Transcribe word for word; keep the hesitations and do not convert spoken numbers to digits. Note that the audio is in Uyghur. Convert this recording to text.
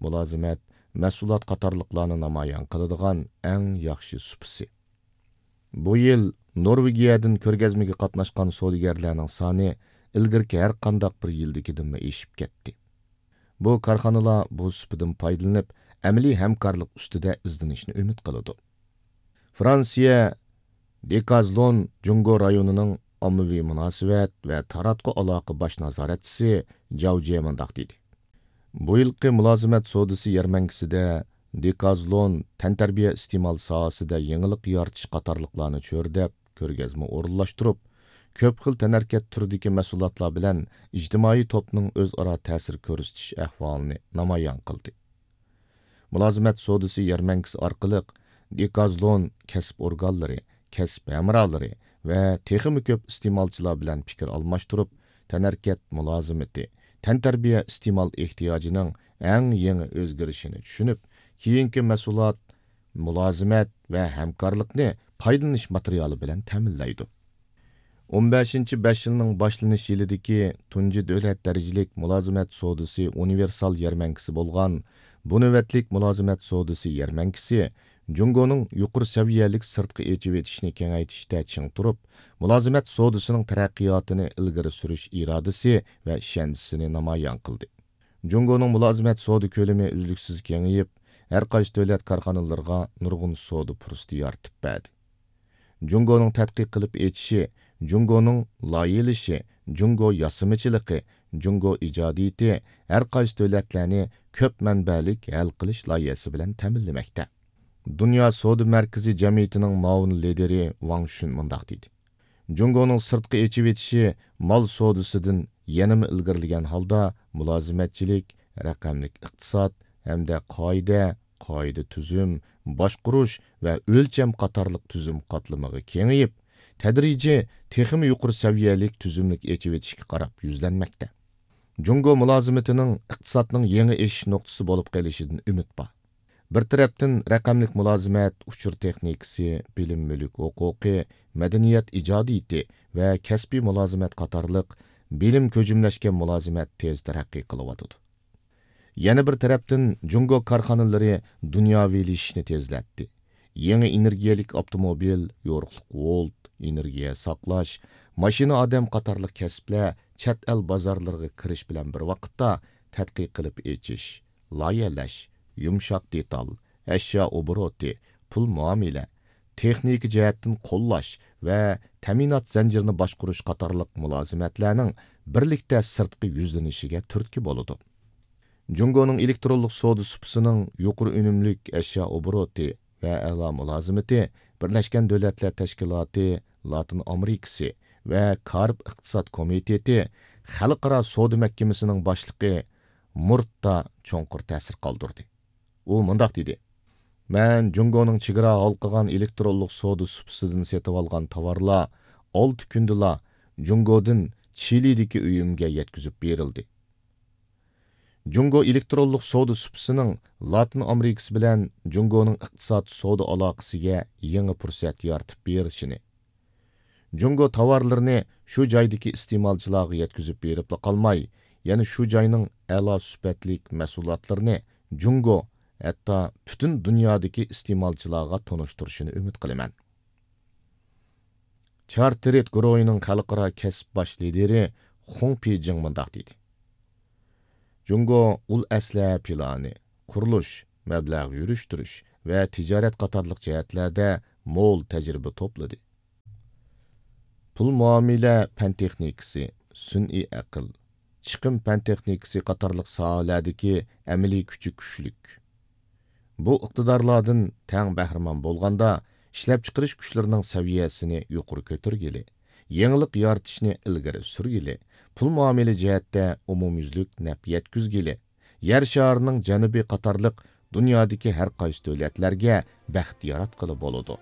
مۇلازىمەت، مەھسۇلات قاتارلىقلارنى نامايان قىلىدىغان ئەڭ ياخشى سۇپىسى. بۇ يىل نورۋېگىيەدىن كۆرگەزمىگە قاتناشقان سودىگەرلەرنىڭ سانى ئىلگىرىكى ھەر قانداق بىر يىلدىكىدىنمۇ ئېشىپ كەتتى. بۇ كارخانىلار بۇ سۇپىدىن پايدىلىنىپ، ئەمەلىي ھەمكارلىق ئۈستىدە ئىزدىنىشنى ئۈمىد قىلىدۇ. فرانسىيە دېكازلون جۇڭگو رايونىنىڭ ئاممىۋى مۇناسىۋەت ۋە تاراتقۇ ئالاقە باش نازارەتچىسى جاۋ جيې مۇنداق دېدى: بۇ يىلقى مۇلازىمەت سودىسى يەرمەنكىسىدە دېكازلون تەنتەربىيە ئىستېمال ساھەسىدە يېڭىلىق يارىتىش قاتارلىقلارنى چۆرىدەپ، كۆرگەزمە ئورۇنلاشتۇرۇپ، كۆپ خىل تەنھەرىكەت تۈرىدىكى مەھسۇلاتلار بىلەن ئىجتىمائىي توپنىڭ ئۆزئارا تەسىر كۆرسىتىش ئەھۋالىنى نامايان قىلدى. مۇلازىمەت سودىسى يەرمەنكىسى ئارقىلىق دېكازلون كەسىپ ئورگانلىرى، كەسىپ ھەمراھلىرى ۋە تېخىمۇ كۆپ ئىستېمالچىلار بىلەن پىكىر ئالماشتۇرۇپ، تەنھەرىكەت مۇلازىمىتى، تەنتەربىيە ئىستېمال ئېھتىياجىنىڭ ئەڭ يېڭى ئۆزگىرىشىنى چۈشىنىپ، كېيىنكى مەھسۇلات، مۇلازىمەت ۋە ھەمكارلىقنى پايدىلىنىش ماتېرىيالى بىلەن تەمىنلەيدۇ. ئون بەشىنچى بەش يىلنىڭ باشلىنىش يىلىدىكى تۇنجى دۆلەت دەرىجىلىك مۇلازىمەت سودىسى ئۇنىۋېرسال يەرمەنكىسى بولغان بۇ نۆۋەتلىك مۇلازىمەت سودىسى يەرمەنكىسى جۇڭگونىڭ يۇقىرى سەۋىيەلىك سىرتقا ئېچىۋېتىشنى كېڭەيتىشتە چىڭ تۇرۇپ، مۇلازىمەت سودىسىنىڭ تەرەققىياتىنى ئىلگىرى سۈرۈش ئىرادىسى ۋە ئىشەنچىسىنى نامايان قىلدى. جۇڭگونىڭ مۇلازىمەت سودا كۆلىمى ئۈزلۈكسىز كېڭىيىپ، ھەر قايسى دۆلەت كارخانىلىرىغا نۇرغۇن سودا پۇرسىتى يارىتىپ بەردى. جۇڭگونىڭ تەتقىق قىلىپ ئېچىشى، جۇڭگونىڭ لايىھەلىشى، جۇڭگو ياسىمىچىلىقى، جۇڭگو ئىجادىيىتى ھەر قايسى دۆلەتلەرنى كۆپ مەنبەلىك ھەل قىلىش لايىھەسى بىلەن تەمىنلىمەكتە. دۇنيا سودا مەركىزى جەمئىيىتىنىڭ مۇئاۋىن لىدىرى ۋاڭ شۈن مۇنداق دېدى: جۇڭگونىڭ سىرتقا ئېچىۋېتىشى مال سودىسىدىن يەنىمۇ ئىلگىرىلىگەن ھالدا مۇلازىمەتچىلىك، رەقەملىك ئىقتىساد ھەمدە قائىدە، قائىدە تۈزۈم، باشقۇرۇش ۋە ئۆلچەم قاتارلىق تۈزۈم قاتلىمىغا كېڭىيىپ، تەدرىجىي تېخىمۇ يۇقىرى سەۋىيەلىك تۈزۈملۈك ئېچىۋېتىشكە قاراپ يۈزلەنمەكتە. جۇڭگو مۇلازىمىتىنىڭ ئىقتىسادنىڭ يېڭى ئېشىش نۇقتىسى بولۇپ قېلىشىدىن ئۈمىد بار. بىر تەرەپتىن رەقەملىك مۇلازىمەت، ئۇچۇر تېخنىكىسى، بىلىم مۈلۈك ھوقۇقى، مەدەنىيەت ئىجادىيىتى ۋە كەسپىي مۇلازىمەت قاتارلىق بىلىم كۆجۈملەشكەن مۇلازىمەت تېز تەرەققىي قىلىۋاتىدۇ. يەنە بىر تەرەپتىن جۇڭگو كارخانىلىرى دۇنياۋىلىشىشنى تېزلەتتى. يېڭى ئېنېرگىيەلىك ئاپتوموبىل، يورۇقلۇق ۋولت، ئېنېرگىيە ساقلاش، ماشىنا ئادەم قاتارلىق كەسىپلەر چەت ئەل بازارلىرىغا كىرىش بىلەن بىر ۋاقىتتا تەتقىق قىلىپ ئېچىش، لايىھەلەش، يۇمشاق دېتال، ئەشيا ئوبوروتى، پۇل مۇئامىلە، تېخنىكا جەھەتتىن قوللاش ۋە تەمىنات زەنجىرىنى باشقۇرۇش قاتارلىق مۇلازىمەتلەرنىڭ بىرلىكتە سىرتقا يۈزلىنىشىگە تۈرتكە بولىدۇ. جۇڭگونىڭ ئېلېكترونلۇق سودا سۇپىسىنىڭ يۇقىرى ئۈنۈملۈك ئەشيا ئوبوروتى ۋە ئەلا مۇلازىمىتى بىرلەشكەن دۆلەتلەر تەشكىلاتى لاتىن ئامېرىكىسى ۋە كارىب ئىقتىساد كومىتېتى خەلقئارا سودا مەھكىمىسىنىڭ باشلىقى مۇرتتا چوڭقۇر تەسىر قالدۇردى. ئۇ مۇنداق دېدى: مەن جۇڭگونىڭ چېگرا ھالقىغان ئېلېكترونلۇق سودا سۇپىسىدىن سېتىۋالغان تاۋارلار ئالتە كۈندىلا جۇڭگودىن چىلىدىكى ئۆيۈمگە يەتكۈزۈپ بېرىلدى. جۇڭگو ئېلېكترونلۇق سودا سۇپىسىنىڭ لاتىن ئامېرىكىسى بىلەن جۇڭگونىڭ ئىقتىساد سودا ئالاقىسىگە يېڭى پۇرسەت يارىتىپ بېرىشىنى، جۇڭگو تاۋارلىرىنى شۇ جايدىكى ئىستېمالچىلارغا يەتكۈزۈپ بېرىپلا قالماي، يەنە شۇ جاينىڭ ئەلا سۈپەتلىك مەھسۇلاتلىرىنى جۇڭگو، ھەتتا پۈتۈن دۇنيادىكى ئىستېمالچىلارغا تونۇشتۇرۇشىنى ئۈمىد قىلىمەن. چارتېرىت گۇرۇھىنىڭ خەلقئارا كەسىپ باش لىدىرى خۇڭ پىجىڭ مۇنداق دېدى: جۇڭگو ئۇل ئەسلىھە پىلانى، قۇرۇلۇش، مەبلەغ يۈرۈشتۈرۈش ۋە تىجارەت قاتارلىق جەھەتلەردە مول تەجرىبە توپلىدى. پۇل مۇئامىلە پەن تېخنىكىسى، سۈنئىي ئەقىل، چىقىم پەن تېخنىكىسى قاتارلىق ساھەلەردىكى ئەمەلىي كۈچى كۈچلۈك. بۇ ئىقتىدارلاردىن تەڭ بەھرىمەن بولغاندا، ئىشلەپچىقىرىش كۈچلىرىنىڭ سەۋىيەسىنى يۇقىرى كۆتۈرگىلى، يېڭىلىق يارىتىشنى ئىلگىرى سۈرگىلى، پۇل مۇئامىلە جەھەتتە ئومۇميۈزلۈك نەپ يەتكۈزگىلى، يەر شارىنىڭ جەنۇبى قاتارلىق دۇنيادىكى ھەر قايسى دۆلەتلەرگە بەخت ياراتقىلى بولىدۇ.